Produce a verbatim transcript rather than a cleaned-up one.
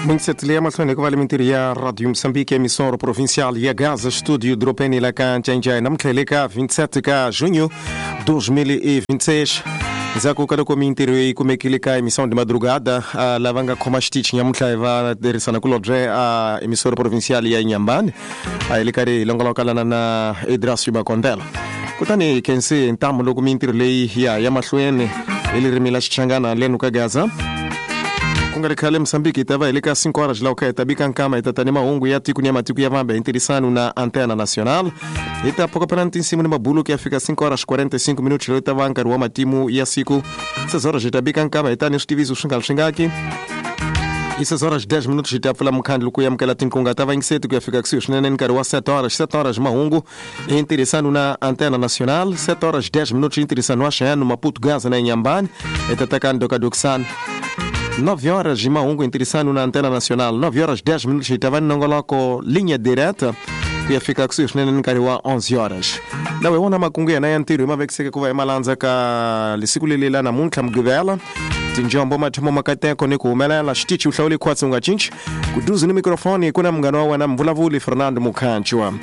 Muito ya mahlweni ku va le mintirho ya Radio Moçambique, emissora provincial ya Gaza, estúdio Dropeni Lacanjanjai, namuntlha hi le ka vinte e sete ka junho dois mil e vinte e seis. Ndzhaku ka loko mintirho yi kumekile ka emissão de madrugada, uh, lava nga khoma xitichi nyamuntlha hi va tirhisana kulobye a uh, emissora provincial ya Inhambane, a hi le karhi hi longolokalana na Edrasio Bakondela. Kutani hi khensi ntamu loko mintirho leyi ya ya mahlweni hi ririmi la Xichangana lenu ka Gaza. Ku nga ri khale Mosambiki hi ta va hi le ka cinco horas laha kha hi ta bika nkama, hi ta ta ni mahungu ya tiko ni ya matiko ya vambe hi ntirhisano na Antena Nacional. Hi ta phokopela ni tinsimu ni mabulu ku ya fika cinco horas quarenta e cinco minutos, loyi ta va nkarhi wa matimu ya siku. Seis horas hi ta bika nkama, hi ta ni switiviso swi nga ri swingaki. I seis horas dez minutos hi ta pfula mukhandlu ku amukela tinkunga ta vayingiseti ku ya fika kusuhi swinene ni nkarhi wa sete horas. sete horas mahungu hi ntirhisano na Antena Nacional. sete horas dez minutos hi ntirhisano wa Xeno, Maputo, Gaza na Inhambane, hi ta tekani dokadokisana. nove horas mahungu ntirhisano na Antena Nacional. nove horas dez minutos hi ta va ni nongoloko Linha Direta ku ya fika kusuhi swinene ni nkarhi wa onze horas. Lawa hi wona makungu yena ya ntirho hi ma vekiseke ku va hi malandza ka lesiku leli la namuntlha Mugqivela. Tinjombo, mathomo, makateko ni ku humelela. Xitichi u hlawule khwatsi, u nga cinci. Kuduzi ni mikrofoni ku na munghana wa wena, mvulavuli Fernando Mukhanchwa.